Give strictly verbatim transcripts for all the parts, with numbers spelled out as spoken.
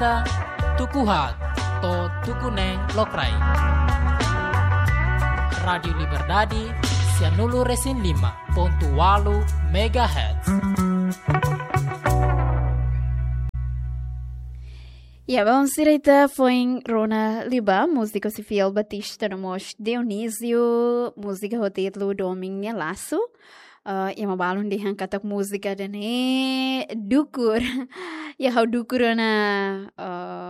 Ita tuku haat to'o tuku neen lokraik. Rádiu Liberdade, sianulu resin lima pontu walu megahertz. Ya, baun sira ita foin rona liu ba múzika husi Fiel Batista no mós Dionísio, múzika ho títulu Domin nia Lasu. Eh, ema balun dehan katak múzika ida-ne'e dukur. Ya, ha'u dukur ona.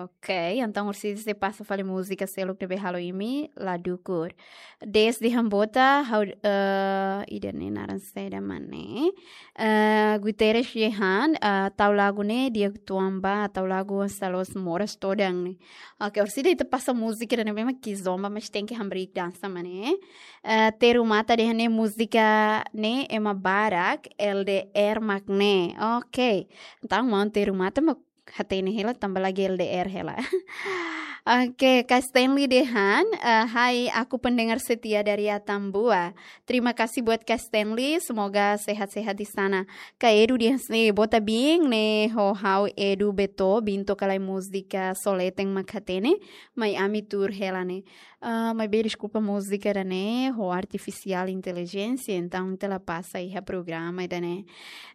Oke, entaun orsida sei pasa fali múzika seluk ne'ebé halo imi la dukur. Desde Hambota, ha'u, eh, ida-ne'e naran saida mak ne'e. Eh, Guterres Jehan, eh, tau lagu ne'e di'ak uitoan ba, tau lagu Salos Moras todan ne'e. Oke, orsida ita pasa múzika ida-ne'ebé mak kizomba, mas tenke hamriik dansa mak ne'e. Eh, Teru Mata dehan ne'e múzika ne'e ema barak, L D R mak ne'e. Oke. Entaun, maun Teru Mata mak hatene hela tanba lagi L D R hela. Oke, Kak Stanley dehan, eh, "Hai, aku pendengar setia dari Atambua. Terima kasih buat Kak Stanley, semoga sehat-sehat di sana." Kak Edu dehan hanesan ne'e, "Boa tarde, ne'e ho ha'u Edu Beto, Binto ka lae múzika Soleten mak hatene, mai ami tuur hela ne'e." Ah, maibé deskulpa, múzika ida-ne'e ho artifisiál intelijénsia, entaun ita la pasa iha programa ida-ne'e.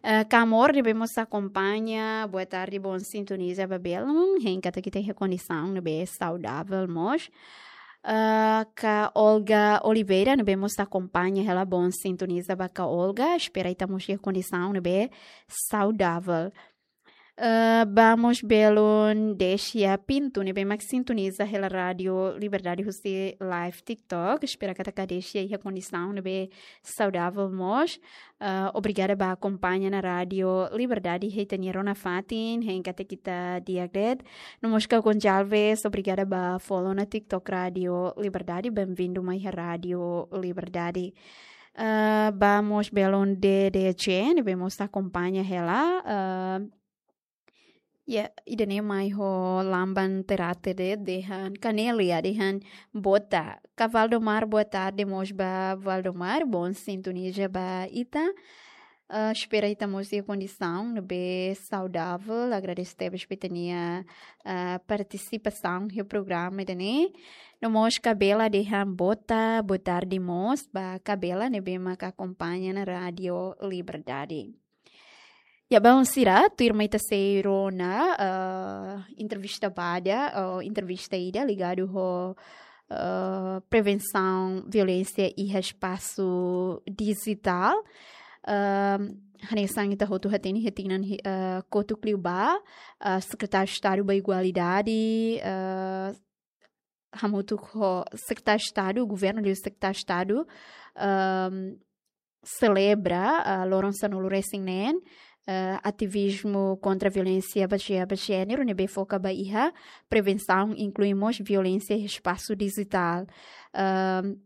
Eh, Kak Amor ne'ebé mós akompaña, boa tarde, bom sintoniza ba belun, hein katak ita iha kondisaun ne'ebé saudavel mós. Eh, Kak Olga Oliveira ne'ebé mós akompaña hela, bom sintoniza ba Kak Olga, espera ita mós iha kondisaun ne'ebé saudavel. Eh, ba mós belun Desia Pinto ne'ebé mak sintoniza hela Rádiu Liberdade husi live TikTok. Espera katak Desia iha kondisaun ne'ebé saudavel mós. Eh, obrigada ba akompaña ona Rádiu Liberdade iha ita-nia rona fatin, hein katak ita di'ak de'it. No mós Kak Gonçalves, obrigada ba follow ona TikTok Rádiu Liberdade. Bem-vindo mai iha Rádiu Liberdade. Eh, ba mós belun D D C ne'ebé mós akompaña hela. Eh, Ya, ida-ne'e mai ho Lamban Terate de'it, dehan Kanelia, dehan botar. Kak Valdomar, boa tarde mós ba Valdomar, bom sintoniza ba ita. Ah, espera ita mós iha kondisaun ne'ebé saudavel, agradese tebes ba ita-nia, ah, partisipasaun iha programa ida-ne'e. No mós Kak Bela dehan botar, boa tarde mós ba Kak Bela ne'ebé mak akompaña ona Rádiu Liberdade. Ya, baun sira, tuirmai ita sei rona, eh, entrevista badak, eh, entrevista ida ligadu ho, eh, prevensaun violénsia iha espasu dijitál. Ehm, hanesan ita hotu hatene iha tinan hi-, eh, kotuk liubá, eh, Sekretáriu Estadu ba Igualdade, eh, hamutuk ho Sekretáriu Estadu, Governu liu Sekretáriu Estadu, ehm, selebra, ah, loron sanulu resin neen, ah, ativizmu kontra violénsia bazeia ba jéneru, ne'ebé foka ba iha prevensaun, inklui mós violénsia iha espasu dijitál. Ahm,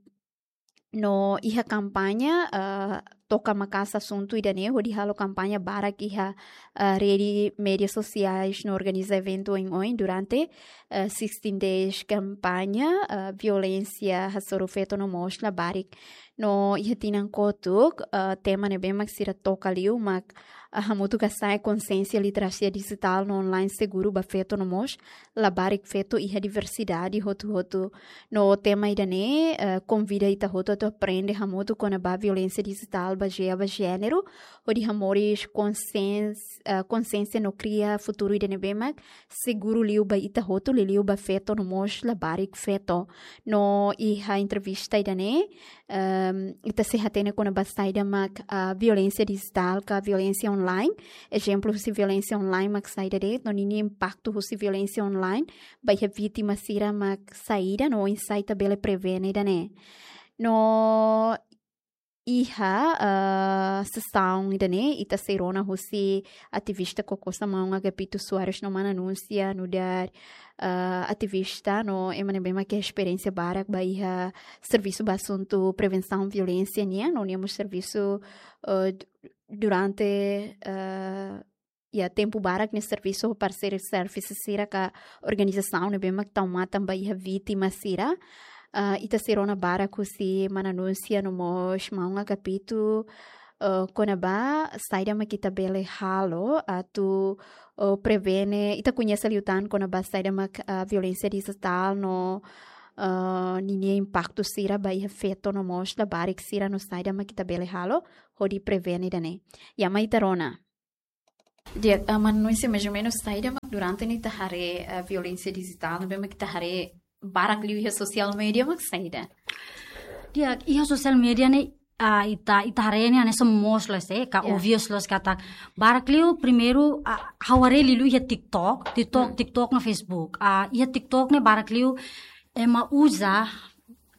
no iha kampaña, ah, toka maka'as asuntu ida-ne'e, hodi halo kampaña barak iha, ah, rede média sosiais no organiza eventu oioin durante, ah, sixteen days kampaña, ah, violénsia hasoru feto no mós labarik. No iha tinan kotuk, ah, tema ne'ebé mak sira toka liu mak, ah, hamutuk hasa'e konsiénsia literasia dijitál no online seguru ba feto no mós labarik feto iha diversidade hotu-hotu. No tema ida-ne'e, eh, konvida ita hotu atu aprende hamutuk kona-ba violénsia dijitál bazeia ba jéneru, hodi hamoris konsiéns-, eh, konsiénsia no kria futuru ida ne'ebé mak seguru liu ba ita hotu, liuliu ba feto no mós labarik feto. No iha entrevista ida-ne'e, ehm, ita sei hatene kona-ba saida mak, ah, violénsia dijitál ka violénsia online. Ezemplu husi violénsia online mak saida de'it, no ninia impaktu husi violénsia online ba iha vítima sira mak saida, no oinsá ita bele prevene ida-ne'e. No iha, ah, sesaun ida-ne'e, ita sei rona husi ativista Koko Samaun Agapito Soares no Mana Núncia, nu'udar, ah, ativista no ema ne'ebé mak iha esperiénsia barak ba iha servisu ba asuntu prevensaun violénsia nian, no nia mós servisu, ah, du-, durante, ah, iha tempu barak nia servisu ho parceiro service sira ka organizasaun ne'ebé mak tau matan ba iha vítima sira. Ah, ita sei rona barak husi Mana Núncia no mós Maun Agapito, eh, kona-ba saida mak ita bele halo atu, eh, prevene, ita koñese liután kona-ba saida mak, eh, violénsia dijitál no, eh, ninia impaktu sira ba iha feto no mós labarik sira no saida mak ita bele halo hodi prevene ida-ne'e. Ya, mai ita rona. Di'ak, ah, mana Nunes, mais ou menus saida mak durante ne'e ita haree, ah, violénsia dijitál, ne'ebé mak ita haree barak liu iha social media mak saida? Di'ak, iha social media ne'e, ah, ita, ita haree ne'e hanesan moos loos, eh, ka Ya. obvious loos katak. Barak liu primeiru, ah, ha'u haree liuliu iha TikTok, TikTok, Hmm. TikTok no Facebook. Ah, iha TikTok ne'e barak liu ema uza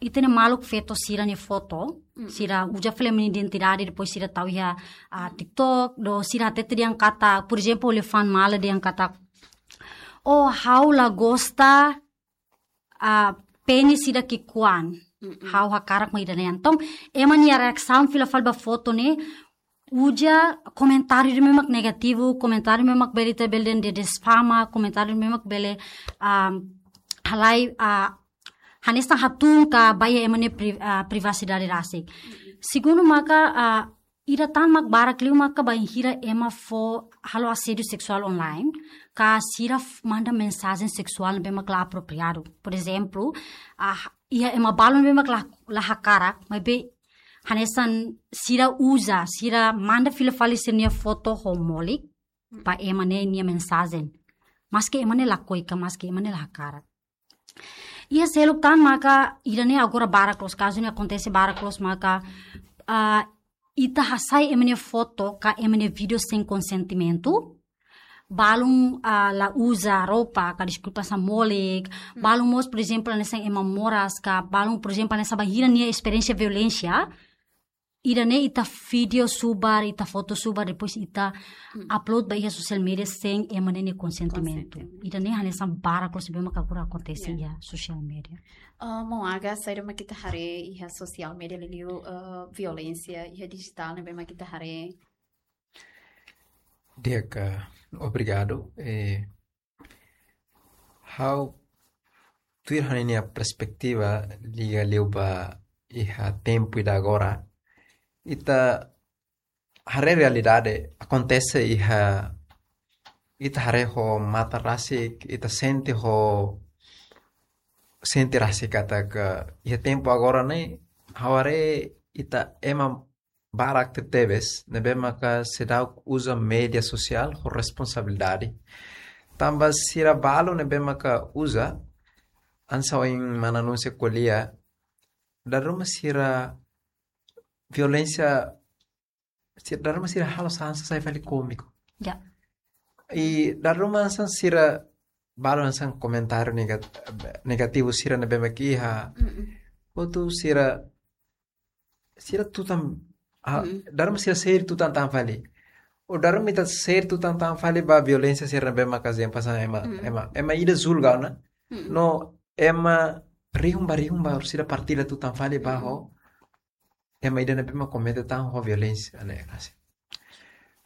ita-nia maluk feto sira-nia foto, Mm. sira uza fali ema nia identidade, depois sira tau iha, ah, TikTok, no sira hatete dehan katak, por ezemplu, elefante mala dehan katak, "Oh, ha'u la gosta, ah, penis ida ki'ikoan, Mm-mm. ha'u hakarak mak ida-ne'e." Entaun, ema nia reasaun fila fali ba foto ne'e, uza komentáriu ne'ebé mak negativu, komentáriu ne'ebé mak bele ita bele dehan difama, komentáriu ne'ebé mak bele, ah, halai, ah, hanesan hatún ka ba iha ema nia pri-, ah, privasidade rasik. Segundu maka, ah, ida tan mak barak liu maka bainhira ema fó halo asédiu seksuál online, ka sira f-, manda mensajen seksuál ne'ebé mak la apropriadu. Por ezemplu, ah, iha ema balun ne'ebé mak la, la hakarak, maibé hanesan sira uza, sira manda fila fali sira-nia foto ho molik, ba ema ne'e nia mensajen. Maski ema ne'e lakohi ka, maski ema ne'e la hakarak. Iha seluk tan maka ida-ne'e agora barak loos, kazu ne'e akontese barak loos maka, ah, ita hasai ema nia foto ka ema nia vídeo sein konsentimentu, balun, ah, la uza roupa ka, deskulpa, hanesan molik, Hmm. balun mós, por ezemplu, hanesan ema moras ka, balun, por ezemplu, hanesan bainhira nia esperiénsia violénsia, ida-ne'e ita vídeo subar, ita foto subar, depois ita Hmm. upload ba iha social media sein ema ne'e nia konsentimentu. Konsentimentu. Ida-ne'e hanesan barak loos ne'ebé mak agora akontese Ya. iha social media. Ah, maun Aga, saida mak ita haree iha social media liuliu, ah, violénsia iha dijitál ne'ebé mak ita haree? Di'ak, obrigadu. Eh, ha'u tuir ha'u-nia perspetiva liga liu ba iha tempu ida agora. Ita haree realidade akontese iha, ita haree ho matan rasik, ita sente ho, sente rasik katak iha tempu agora ne'e, ha'u haree ita ema barak tebetebes ne'ebé maka seidauk uza média sosiál ho responsabilidade. Tanba sira balu ne'ebé maka uza, hanesan ohin mana Nunes ko'alia, dala ruma sira violénsia, sira, dala ruma sira halo hanesan sai fali kómiku. Ya. I dala ruma hanesan sira balu hanesan komentáriu negat-, negativu sira ne'ebé maka iha. Mm-mm. Hotu sira, sira tutan, ah, Mm-mm. dala ruma sira share tutan tan fali. Ou dala ruma ita share tutan tan fali ba violénsia sira ne'ebé maka hanesan ema, Mm-mm. ema, ema ida julga ona. Mm-mm. No ema rihun ba rihun balu sira partilla tutan fali ba Mm-mm. ho ema ida ne'ebé mak komete tan ho violénsia ne'e rasik.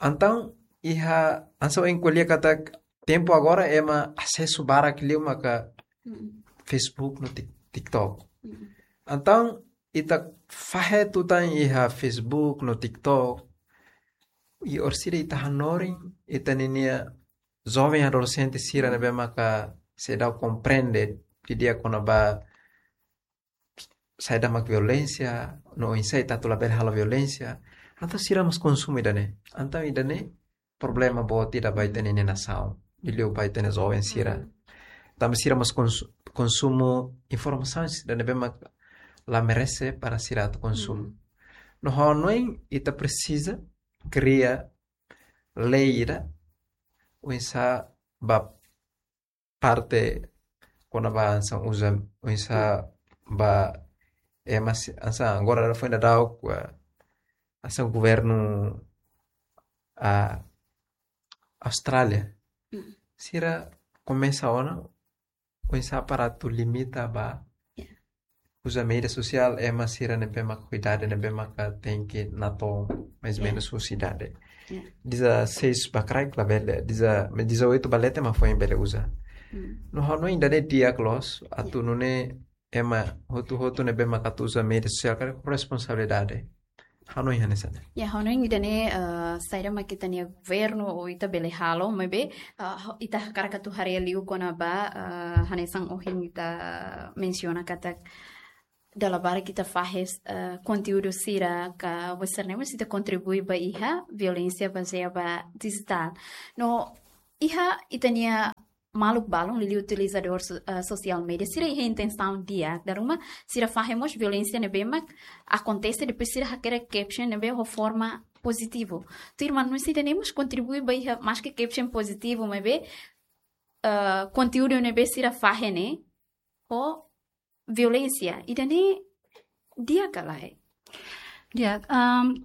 Entaun, iha, hanesan ohin ko'alia katak tempu agora ema asesu barak liu maka Mm. Facebook no Tik-, TikTok. Mm. Entaun, ita fahe tutan iha Facebook no TikTok, i orsida ita hanorin, ita ninia joven adolexente sira Mm. ne'ebé maka seidauk komprende didi'ak kona-ba saida mak violénsia, no oinsá ita atu labele halo violénsia, entaun sira mós konsumu ida-ne'e. Entaun ida-ne'e problema boot ida ba ita-nia nasaun, liuliu ba ita-nia joven sira. Mm. Tanba sira mós konsu-, konsumu informasaun ida ne'ebé mak la merese para sira atu konsumu. Mm. No ha'u hanoin ita presiza kria lei ida, oinsá ba parte kona-ba hanesan uza, oinsá Mm. ba ema si-, hanesan agora foin daudauk, ah, hanesan governu, ah, Austrália. Mm. Sira komesa ona, oinsá para atu limita ba Ya. uza média sosiál, ema sira ne'ebé maka ho idade ne'ebé maka tenke natoon mais ou Ya. menus husi idade. Ya. Dezaseis ba kraik labele, deza-, dezoito ba leten mak foin bele uza. Mm. No ha'u hanoin ida-ne'e di'ak loos, atu Ya. nune'e ema hotu-hotu ne'ebé maka atu uza média sosiál karik ho responsabilidade. Hanoin hanesan ne'e. Ya, hanoin ida-ne'e, eh, saida mak ita-nia governu ou ita bele halo, maibé, eh, ita hakarak atu haree liu kona-ba, eh, hanesan ohin ita mensiona katak dala barak ita fahe, eh, konteúdu sira ka website ne'e mós ita kontribui ba iha violénsia bazeia ba dijitál. No iha ita-nia maluk balun liuliu utilizadór so-, eh, sosiál média sira iha intensaun di'ak, dala ruma sira fahe mós violénsia ne'ebé mak akontese, depois sira hakerek caption ne'ebé ho forma pozitivu. Tuirmai mós ida-ne'e mós kontribui ba iha, maske caption pozitivu, maibé, eh, konteúdu ne'ebé sira fahe ne'e ho violénsia. Ida-ne'e di'ak ka lae? Di'ak, um,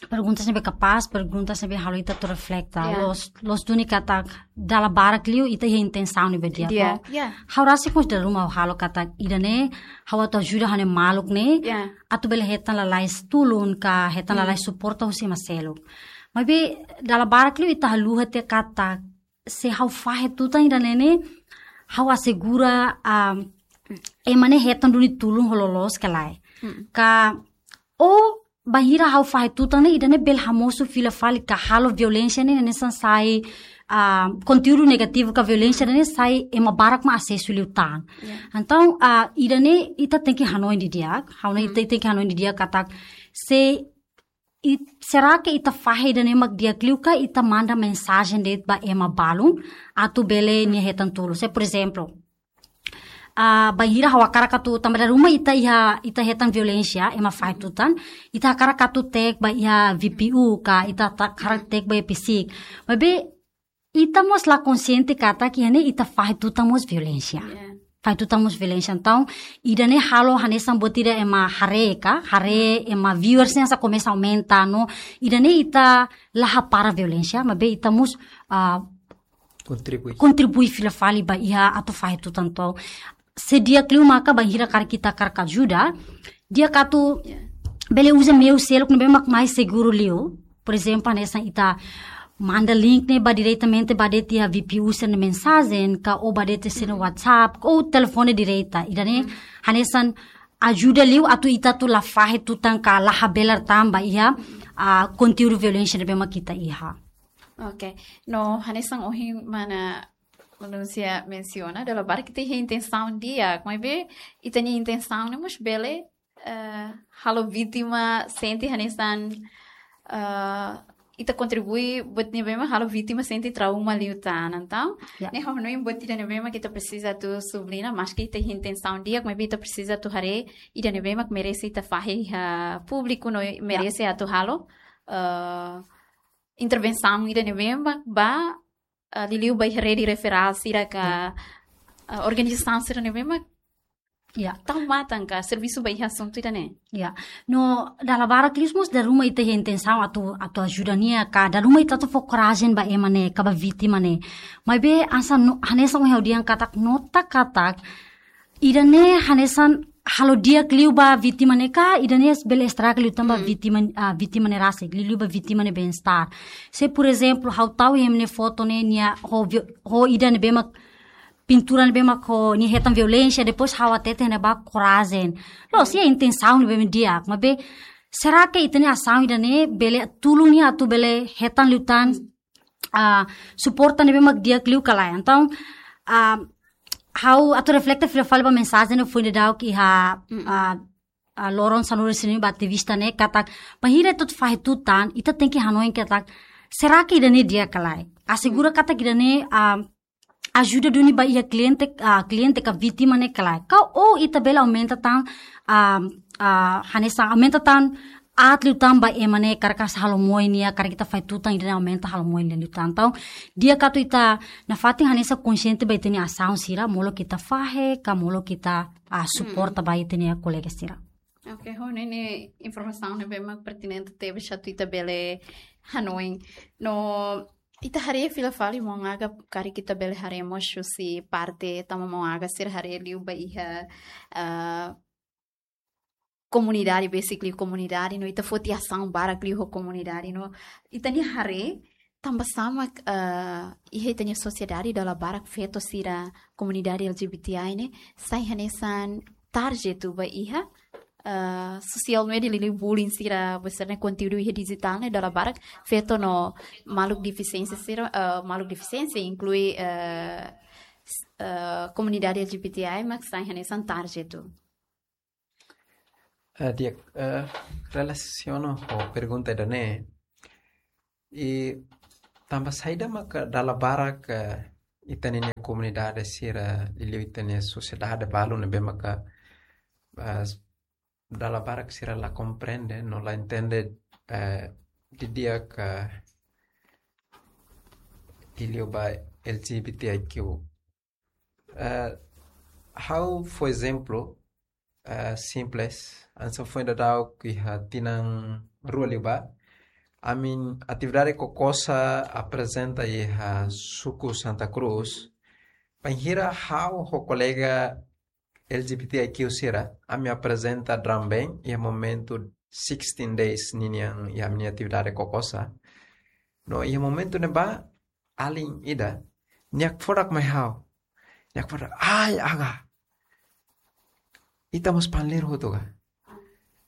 pergunta ne'ebé kapás, pergunta ne'ebé halo ita atu refleta. Ya. Loos, loos duni katak dala barak liu ita iha intensaun ne'ebé di'ak. Di'ak, no? Ya. Ha'u rasik mós dala ruma halo katak ida-ne'e, ha'u atu ajuda ha'u-nia maluk ne'e, ya, atu bele hetan lalais tulun ka hetan, hmm, lalais suporta husi ema seluk. Maibé dala barak liu ita haluha tiha katak se ha'u fahe tutan ida-ne'e ne'e, ha'u asegura, ah, ema ne'e hetan duni tulun ho loloos ka lae. Hmm. Ka, ou bainhira ha'u fahe tutan ne'e, ida-ne'e bele hamosu fila fali ka halo violénsia ne'e, ne'e hanesan sai, ah, konteúdu negativu ka violénsia ne'e sai ema barak mak asesu liután. Ya. Entaun, ah, ida-ne'e ita tenke hanoin didi'ak, ha'u ne'e, hmm, ita tenke hanoin didi'ak katak se i-, será que ita fahe ida-ne'e mak di'ak liu ka ita manda mensajen de'it ba ema balun atu bele nia hetan tulun? Se, por ezemplu, ah, bainhira ha'u hakarak atu, tanba dala ruma ita iha, ita hetan violénsia, ema fahe tutan, ita hakarak atu tag ba iha V P U ka, ita ta-, hakarak tag ba iha PCIC. Maibé ita mós la konsiente katak iha ne'e ita fahe tutan mós violénsia. Ya. Fahe tutan mós violénsia. Entaun, ida-ne'e halo hanesan buat ida ema haree ka, haree, ema viewers ne'e hanesan komesa aumenta, no ida-ne'e ita la hapara violénsia, maibé ita mós, ah, kontribui, kontribui fila fali ba iha atu fahe tutan. Entaun, se di'ak liu maka bainhira karik ita hakarak ajuda, di'ak atu, ya, bele uza meiu seluk ne'ebé mak mais seguru liu. Por ezemplu, hanesan ita manda link ne'e ba diretamente ba de'it iha V P U sira-nia mensajen, ka ou ba de'it sira-nia WhatsApp, ou telefone direta. Ida-ne'e, hmm, hanesan ajuda liu atu ita atu la fahe tutan ka la habelar tan ba iha, ah, konteúdu violénsia ne'ebé mak ita iha. Oke. No, hanesan ohin mana maun-alin sira mensiona, dala barak ita iha intensaun di'ak, maibé ita-nia intensaun ne'e mós bele, eh, halo vítima sente hanesan, eh, ita kontribui buat ne'ebé mak halo vítima sente trauma liután. Entaun, ya, ne'e ha'u hanoin buat ida ne'ebé mak ita presiza atu subliña, maske ita iha intensaun di'ak, maibé ita presiza atu haree ida ne'ebé mak merese ita fahe iha públiku, no, ya, merese atu halo, eh, intervensaun ida ne'ebé mak ba, ah, liuliu ba iha rede referál sira ka, ya, ah, organizasaun sira ne'ebé mak, ya, tau matan ka servisu ba iha asuntu ida-ne'e. Ya. No, dala barak liu mós dala ruma ita iha intensaun atu, atu ajuda nia ka, dala ruma ita atu fó korajen ba ema ne'e ka ba vítima ne'e. Maibé hanesan no, hanesan ohin ha'u dehan katak, nota katak, ida-ne'e hanesan halo di'ak liu ba vítima ne'e ka, ida-ne'e bele estraga liután ba, hmm, vítima, ah, vítima ne'e rasik, liuliu ba vítima nia bem-estar. Se, por ezemplu, ha'u tau ema nia foto ne'e nia ho vi-, ho ida ne'ebé mak pintura ne'ebé mak ho nia hetan violénsia, depois ha'u hatete ne'e ba korajen. Loos, iha intensaun ne'ebé mak di'ak, maibé será que ita-nia asaun ida-ne'e bele tulun nia atu bele hetan liután, ah, suporta ne'ebé mak di'ak liu ka lae? Entaun, ah, ha'u atu refleta fila fali ba mensajen ne'ebé foin daudauk iha, mm-mm, ah, ah, loron sanulu-resin-neen ba ativista ne'e katak, bainhira ita atu fahe tutan, ita tenke hanoin katak, será que ida-ne'e di'ak ka lae? Asegura, mm, katak ida-ne'e, ah, ajuda duni ba iha kliente, ah, kliente ka vítima ne'e ka lae? Ka ou ita bele aumenta tan, ah, ah, hanesan aumenta tan aat liután ba ema ne'e karik halo moe nia, karik ita fahe tutan ida-ne'e aumenta halo moe nia liután. Entaun, di'ak atu ita nafatin hanesan konsiente ba ita-nia asaun sira, molok ita fahe, ka molok ita, ah, suporta, hmm, ba ita-nia kolega sira. Oke, ho ne'e informasaun ne'ebé mak pertinente tebes atu ita bele hanoin. No, ita haree fila fali maun Aga, karik ita bele haree mós husi parte tanba maun Aga sira haree liu ba iha, ah, komunidade, basically komunidade, no ita foti asaun barak liu ho komunidade, no ita-nia haree tanba sá mak, ah, iha ita-nia sosiedade dala barak feto sira komunidade L G B T I ne'e sai hanesan target ba iha, eh, sosiál media liuliu bullying sira, besar ne'e konteúdu iha dijitál ne'e dala barak feto no maluk defisiénsia sira, eh, maluk defisiénsia inklui, eh, s-, eh, komunidade L G B T I mak sai hanesan target. Eh, di'ak, eh, relasiona ho pergunta ida-ne'e. I tanba saida maka dala barak, eh, ita-nia komunidade sira, liuliu ita-nia sosiedade balu ne'ebé maka, eh, dala barak sira la komprende, no la entende, eh, didi'ak, eh, liuliu ba L G B T I Q. Eh, ha'u fó ezemplu, eh, simples, hanesan foin daudauk iha tinan rua liubá, ami atividade KOCOSA aprezenta iha suku Santa Cruz, bainhira ha'u ho kolega L G B T I Q sira, ami aprezenta drum band iha momentu sixteen days ninian iha ami-nia atividade KOCOSA. No iha momentu ne'ebá, alin ida, nia hakfodak mai ha'u. Nia hakfodak, "Ai, Aga. Ita mós panleiru hotu ka?"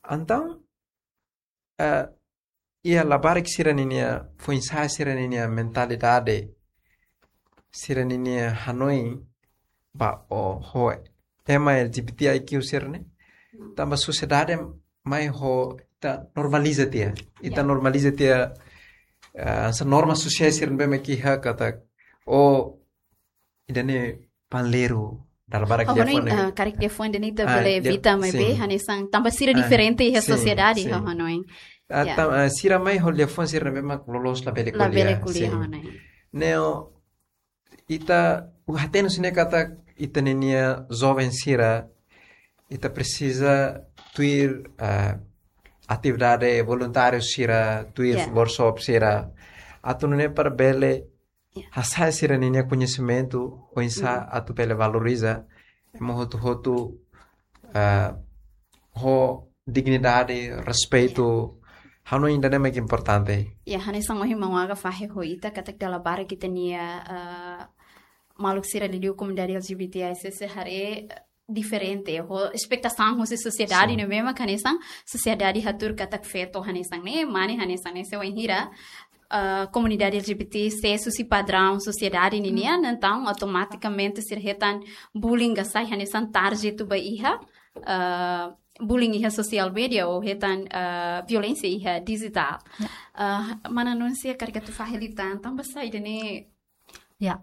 Entaun, eh, iha labarik sira-ninia, foin-sa'e sira-ninia mentalidade, sira-ninia hanoin ba o ho ema L G B T I Q sira-ne'e. Tanba sosiedade mai ho ita normaliza tiha. Ita Ya. normaliza tiha, eh, hanesan norma sosiál sira-ne'ebé mak iha katak, o, ida-ne'e panleiru, dala barak Ha'u hanoin, liafuan ne'e. ah, karik liafuan ida-ne'e ita Ah, bele lia-, evita maibé, sin. hanesan tanba sira Ah, diferente iha sin, sosiedade, sin. ha'u hanoin. Ah, Ya. tam-, ah, sira mai ho liafuan sira-ne'ebé mak loloos labele Labele ko'alia, ko'alia, sin. ha'u hanoin. Ne'e, ita, ha'u hatene husi ne'e katak ita-ninia joven sira, ita presiza tuir, ah, atividade voluntáriu sira, tuir Ya. workshop sira, atu nune'e para bele Ya. hasa'e sira-ninia koñesimentu, oinsá Mm. atu bele valoriza ema hotu-hotu, ah, ho dignidade, respeitu, Ya. ha'u hanoin ida-ne'e mak importante. Ya, hanesan ohin maun Aga fahe ho ita, katak dala barak ita-nia, ah, maluk sira liuliu komunidade L G B T I C C haree, eh, diferente, ho espetasaun husi sosiedade Sin. ne'ebé mak hanesan, sosiedade hatudu katak feto hanesan ne'e, mane hanesan ne'e, se wainhira, ah, komunidade L G B T sai husi padraun sosiedade ninian, Hmm. entaun automatikamente sira hetan bullying ka sai hanesan target ba iha, ah, bullying iha sosiál media ou hetan, ah, violénsia iha dijitál. Ya. Ah, mana Núncia karik atu fahe liután, tanba saida ne'e? Ya.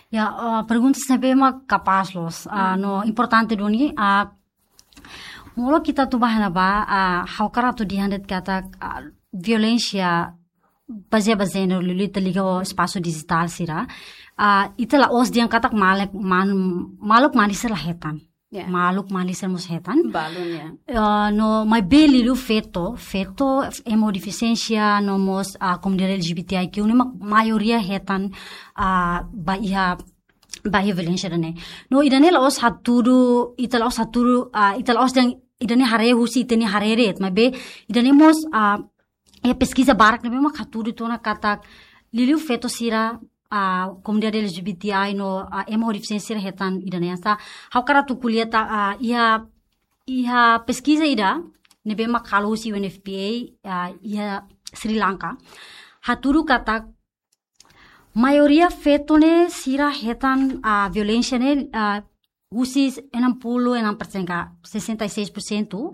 Ya, ah, pergunta ne'ebé mak kapás loos. Ah, Hmm. no importante duni, ah, molok ita atu ba iha ne'ebá, ah, ha'u hakarak atu dehan de'it katak, ah, violénsia bazeia ba jéneru liuliu ita liga ho espasu dijitál sira. Ah, ita la'ós dehan katak maluk, man-, maluk mane sira la hetan. Ya. Maluk mane sira mós hetan. Balun, ya. Ah, no, maibé liuliu feto, feto, ema ho defisiénsia, no mós, ah, komunidade L G B T I Q ne'e mak maioria hetan, ah, ba iha, ba iha violénsia ida-ne'e. No, ida-ne'e la'ós hatudu, ita la'ós hatudu, ah, ita la'ós dehan, ida-ne'e haree husi ita-nia haree de'it, maibé, ida-ne'e mós, ah, iha peskiza barak ne'ebé mak hatudu tiha ona katak liuliu feto sira, ah, komunidade L G B T I no, ah, ema ho defisiénsia sira hetan ida-ne'e. Sa, ha'u hakarak atu ko'alia ta, ah, iha, iha peskiza ida ne'ebé mak halo husi U N F P A, ah, iha Sri Lanka. Hatudu katak maioria feto ne'e sira hetan, ah, violénsia ne'e, ah, husi enam puluh enam persen ka sessenta e seis por cento,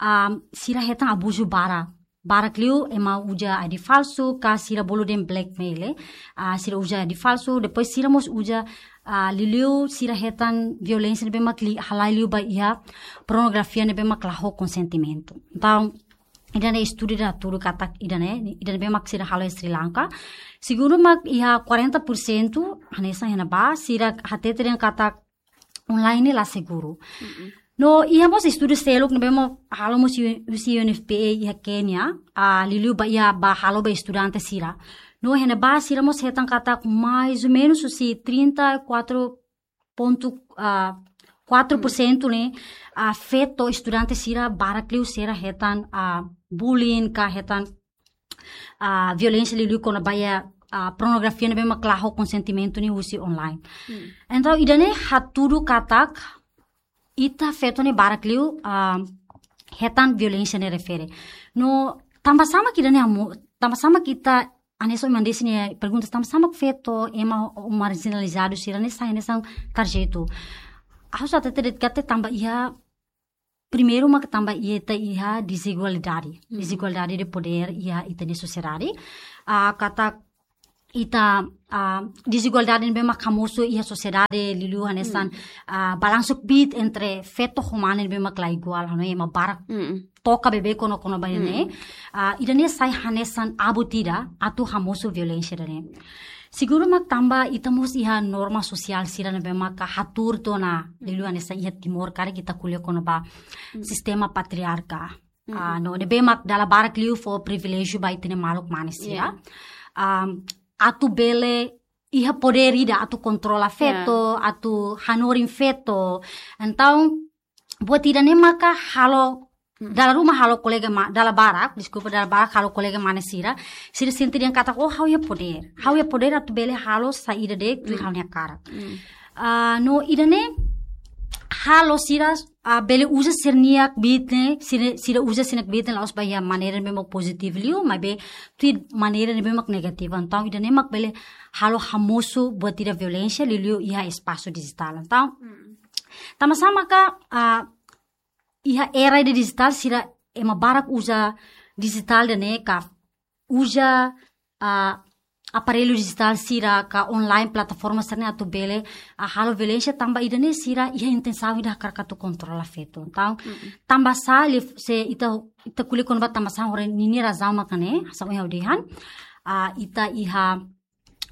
ah, sira hetan abuzu barak. Barak liu ema uza I D falsu, ka sira bolu dehan blackmail, eh. Ah, sira uza I D falsu, depois sira mós uza, ah, liuliu sira hetan violénsia ne'ebé mak li-, halai liu ba iha pornografia ne'ebé mak la ho konsentimentu. Entaun, ida-ne'e estudu ida hatudu katak ida-ne'e, ida ne'ebé mak sira halo iha Sri Lanka. Segundu mak iha quarenta por cento, hanesan iha ne'ebá, sira hatete dehan katak online ne'e la seguru. Mm-mm. No, iha mós estudu seluk ne'ebé mak halo mós hu-, husi U N F P A iha Kenya, ah, liuliu ba iha ba halo ba estudante sira. No, iha ne'ebá sira mós hetan katak mais ou menos husi trinta e quatro ponto, ah, quatro por cento ne'e, ah, feto estudante sira barak liu sira hetan, ah, bullying ka hetan, ah, violénsia liuliu kona-ba iha, ah, pornografia ne'ebé mak la ho konsentimentu ne'e husi online. Hmm. Entaun, ida-ne'e hatudu katak ita feto ne'e barak liu, ah, hetan violénsia ne'e refere. No, tanba sá mak ida-ne'e hamo-, tanba sá mak ita, hanesan ohin mak desi nia pergunta, tanba sá mak feto ema marjinalizadu sira-ne'e sai hanesan tarjetu. Ha'u sente katak tanba iha, primeiru mak tanba iha ita iha dezigualdade. Dezigualdade de poder iha ita-nia sosiedade. Ah, katak ita, ah, dezigualdade ne'ebé mak hamosu iha sosiedade liuliu hanesan, ah, balansu kbiit entre feto ho mane ne'ebé mak la iguál, hanoin ema barak toka beibeik kona-ba ida-ne'e. Ah, ida-ne'e sai hanesan abut ida atu hamosu violénsia ida-ne'e. Segundu mak tanba ita mós iha norma sosiál sira ne'ebé mak hatuur tiha ona liuliu hanesan iha Timor karik ita ko'alia kona-ba sistema patriarka. Ah, no, ne'ebé mak dala barak liu fó priviléjiu ba ita-nia maluk mane sira. Ah, atu bele iha podér ida atu kontrola feto, atu hanorin feto. Entaun, buat ida-ne'e maka halo, dala ruma halo kolega ma-, dala barak, deskulpa, dala barak halo kolega mane sira, sira sente dehan katak, oh, ha'u iha podér. Ha'u iha podér atu bele halo saida de'it tuir ha'u-nia hakarak. Ah, no ida-ne'e halo sira, ah, bele uza sira-nia kbiit ne'e, sira, sira uza sira-nia kbiit ne'e la'ós ba iha maneira ne'ebé mak pozitivu liu, maibé tuir maneira ne'ebé mak negativu. Entaun, ida-ne'e mak bele halo hamosu buat ida violénsia liuliu iha espasu dijitál. Entaun, tanba sá maka, ah, iha era ida dijitál sira ema barak uza dijitál ida-ne'e ka uza, ah, aparellu dijitál sira ka online plataforma sira-ne'e atu bele, ah, halo violénsia tanba ida-ne'e sira iha intensaun ida hakarak atu kontrola feto. Entaun, tanba sá liu se ita, ita ko'alia kona-ba tanba sá hore ninia razaun maka ne'e, hanesan ohin ha'u dehan, ah, ita iha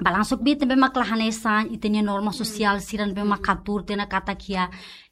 balansu kbiit ne'ebé mak la hanesan, ita-nia norma sosiál sira ne'ebé mak hatuur tiha ona katak iha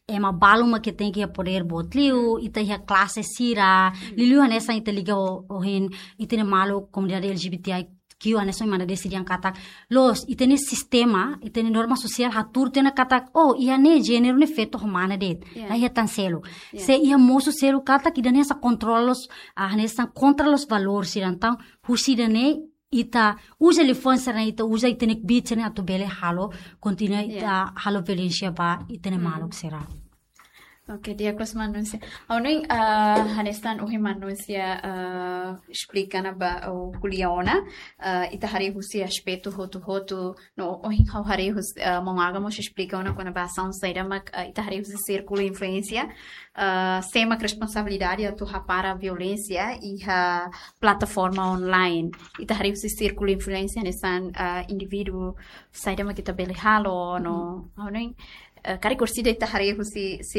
ema balu mak tenke iha podér boot liu, ita iha klase sira, liuliu hanesan ita liga ho, ohin, ita-nia maluk komunidade L G B T I Q hanesan ohin mak desi dehan katak, loos, ita-nia sistema, ita-nia norma sosiál hatuur tiha ona katak, oh, iha ne'e jéneru ne'e feto ho mane de'it, la iha tan seluk. Se iha mosu seluk katak, ida-ne'e hanesan kontrola loos, ah, hanesan kontra loos valór sira, entaun, husi ida-ne'e, ita uza liafuan sira-ne'e, ita uza ita-nia kbiit sira-ne'e atu bele halo, kontinua ita halo violénsia ba ita-nia maluk sira. Oke, di'ak loos Manúnsia. Ha'u hanoin, ah, hanesan ohin Manúnsia, ah, esplika ona ba, ou ko'alia ona, ah, ita haree husi aspetu hotu-hotu, no ohin ha'u haree husi, ah, Maun Aga mós esplika ona kona-ba asaun saida mak, ah, ita haree husi sírkulu influénsia, ah, sé mak responsabilidade atu hapara violénsia iha plataforma online. Ita haree husi sírkulu influénsia hanesan, ah, indivíduu saida mak ita bele halo, no, ha'u hanoin, ah, karik orsida ita haree husi, si